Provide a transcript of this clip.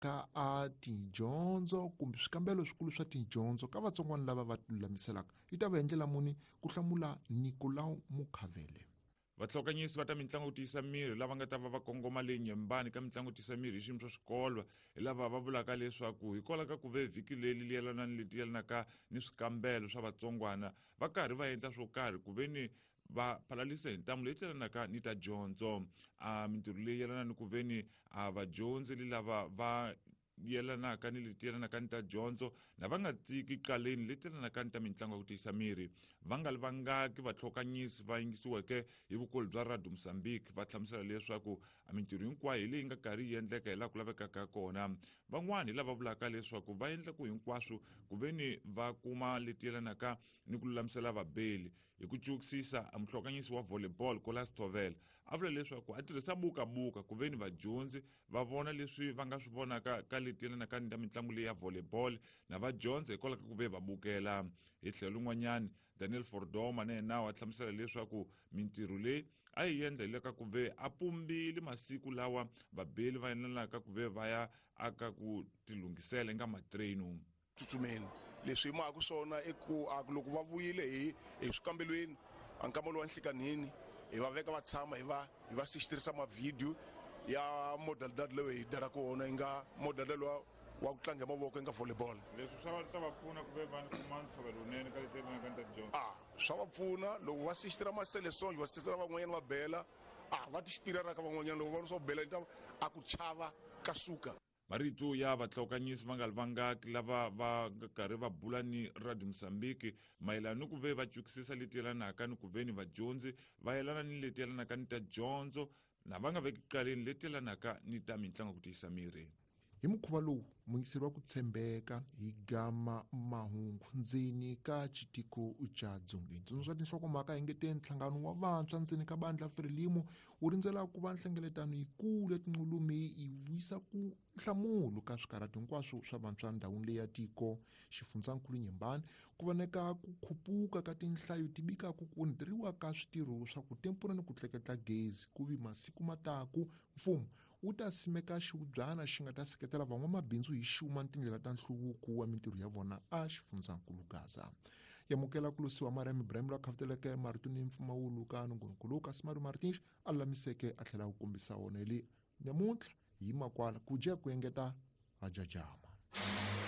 ka a tidyondzo kumbe swikambelo swikulu swa tidyondzo ka vatsongwana lava va tilulamiselaka yi ta va hi ndlela muni ku hlamula Nicolau Mukhavele. Vahlokanyisi va ta mitlangu ku tiyisa miri lava nga ta va va kongoma le Nyembani ka mitlangu ku tiyisa miri hi xiyimo swa swikolo hi lava va vulaka leswaku hikwalaho ka ku ve vhiki leri li yelana ni leti yelanaka ni swikambelo swa vatsongwana va karhi va endla swo karhi ku ve ni va phalalisa hi ntamu leyi tselanaka ni ta dyondzo. A mintirho leyi yelana ni ku ve ni a vadyondzi li lava va yelanaka ni leti yelanaka ni ta dyondzo na va nga tiki qaleni leti yelanaka ni ta mitlangu ya ku tiyisa miri. Va nga li vangaki vatlhokanyisi va yingisiweke hi vukulu bya Radio Mozambique va hlamusela leswaku a mintirho hinkwayo hi leyi nga karhi yi endleka hi laha ku lavekaka kona. Van'wani hi lava vulaka leswaku va endla ku hinkwaswo ku ve ni va kuma leti yelanaka ni ku lulamisela vabeli. Hi ku cukisisa, a muhlokanyisi wa volleyball Kolas Tovela a vula leswaku a tirhisa bukabuka ku ve ni vadyondzi va vona leswi va nga swi vonaka ka leti yelanaka ni ta mitlangu leyi ya volleyball na va dyondza hikwalaho ka ku ve va bukela. Hi tlhelo rin'wanyani, Daniel Fordoma na yena wa hlamusela leswaku mintirho leyi a yi endla hi le ka ku ve a pumbile masiku lawa vabeli va yelanaka ku ve va ya aka ku tilunghisela eka matrenu. Tsutsumeni leswi hi maka swona i ku a loko va vuyile hi swikambelweni a nkama lowa nhlikanhini hi va veka va tshama hi va sixtirisa mavhidiyo ya modalidad leyi hi dalaka wona yi nga modalidad lowa wa ku tlanga hi mavoko yi nga volleyball. Leswi swa ta va pfuna ku ve va kuma ntshovelo wunene ka leti yelanaka ni ta tidyondzo. A swa va pfuna loko va sixtira maseleson va sixtira van'wanyana va bela a va ti xipirara ka van'wanyana loko va vona swa ku bela a ku chava ka suka. Marito ya vatlhokanyisi va nga li vangaki lava va nga karhi va bula ni Radio Mozambique mayelana ni ku ve va cukisisa leti yelanaka ni ku ve ni vadyondzi va yelana ni leti yelanaka ni ta dyondzo na va nga veki qaleni leti yelanaka ni ta mitlangu ku tiyisa miri. Hi mukhuva lowu muyingiseri wa ku tshembeka hi gama mahungu ndzeni ka xitiko xa Dzongeni. Tsundzuxa tinhlokomhaka hi ngete nhlangano wa vantshwa ndzeni ka bandla Frelimo wu rindzela ku va nhlengeletano yikulu ya tinqulumi yi vuyisa ku nhlamulo ka swikarhato hinkwaswo swa vantshwa ndhawini leyi ya tiko. Xifundzankulu Nyembani ku voneka ku khupuka ka tinhlayo ti bikaku ku onheteriwa ka switirho swa ku tempura ni ku tleketla gezi ku vi masiku mataku mfumo wu ta simeka xihubyana xi nga ta seketela van'wamabindzu hi xuma ni tindlela ta nhluvuko wa mintirho ya vona a xifundzankulu Gaza. Yamukela ku losiwa Mariam Ibrahim loyi a khavuteleke marito ni mpfumawulo ka nongonoko lowu kasi Mario Martins a lulamiseke a tlhela a wu kombisa wona hi le nyamuntlha hi makwala ku dya ku engeta ha jajama.